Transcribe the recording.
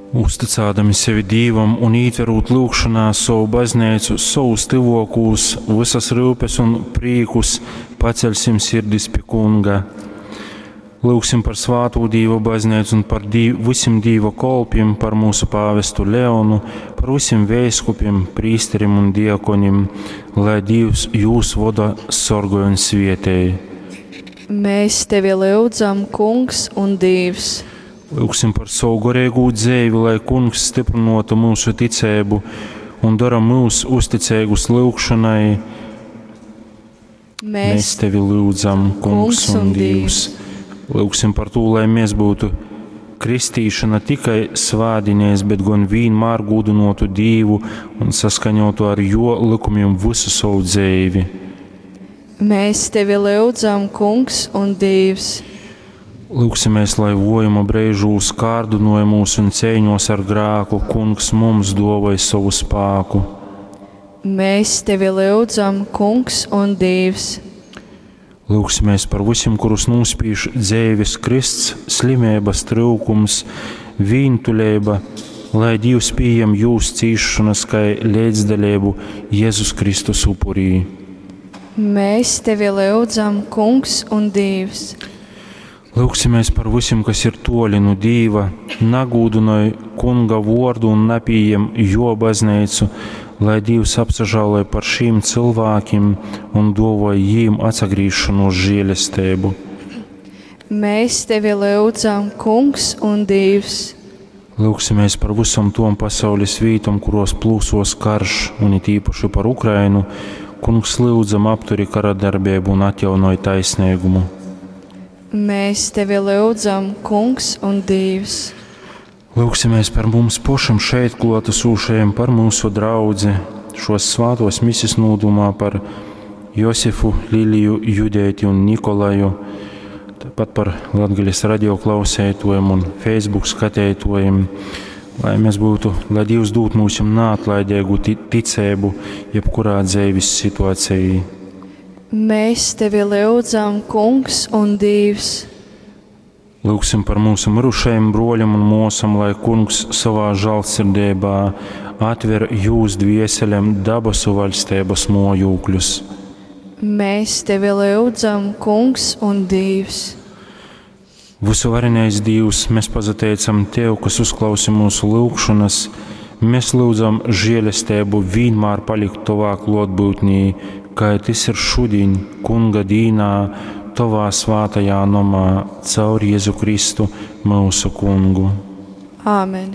Uzticādami sevi Dīvam un ītverūt lyugšonā sovu bazneicu, sovus tyvōkūs, vysas ryupes un prīkus, paceļsim sirdis pi Kunga. Lyugsim par svātū Dīva bazneicu un par dīv, vysim Dīva kolpim, par mūsu pāvestu Leonu, par vysim veiskupim, prīsterim un diakonim, lai Dīvs jūs voda, sorgoj un svietej. Mēs tevi lyudzam, Kungs un Dīvs. Lyugsim par savu goreigū dzeivi, lai Kungs styprynuotu myusu ticeibu un dora myus uzticeigus lyugšonai. Mēs, Mēs tevi lyudzam, Kungs un Dīvs. Lyugsim par to, lai mēs būtu kristīša ne tikai svētdienās, bet gan vienmēr gūdinotu Dievu un saskaņotu ar Jo likumiem visu savu dzīvi. Mēs tevi lyudzam, Kungs un Dīvs. Lūksimies, lai vojuma brīžūs, kārdinājumos un cīņos ar grēku Kungs mums dāvāj savu spēku. Mēs tevi lyudzam, Kungs un Dīvs. Lūksimies par visiem, kurus nospīž dzīves krysts, slimības, trūkums, vientuļība, lai Dievs pieņem jūs cīšanas kā līdzdalību Jēzus Kristus upurī. Mēs tevi lyudzam, Kungs un Dīvs. Lūksimies par visiem, kas ir toļi no Dīva, nagūdinoj Kunga vordu un napieņem jo baznīcu, lai Dievs apsažāloj par šīm cilvēkiem un dāvāj jīm atsagriešanos žēlestību. Mēs tevi lyudzam, Kungs un Dīvs. Lūksimies par visam tom pasaules vītom, kuros plūsos karš, un it īpaši par Ukrainu. Kungs lūdzam apturi kara darbību un atjaunoj taisnīgumu. Mēs tevi lyudzam, Kungs un Dīvs. Lūksimies par mums pašam šeit klātesošajiem, par mūsu draudzi, šos svātos misis nūdumā par Josifu, Liliju, Judēti un Nikolaju, tāpat par Latgales radio klausētojiem un Facebook skatētojiem, lai mēs būtu, lai Dievs dūtu mums neatlaidīgu ticību jebkurā dzīves situācijā. Mēs tevi lyudzam, Kungs un Dīvs. Lūgsim par mūsu mirušajiem broļiem un mosam, lai Kungs savā žēlsirdībā atver jūs dvieselēm dabasu vaļstības mojūkļus. Mēs tevi lyudzam, Kungs un Dīvs. Visuvarenais Dievs, mēs pazateicam Tev, kas uzklausi mūsu lūgšanas. Mēs lūdzam žēlestību vienmēr palikt Tavā klātbūtnī, kā tas ir šodien, Kunga dīnā, Tavā svātajā nomā, caur Jēzu Kristu, mūsu Kungu. Āmen.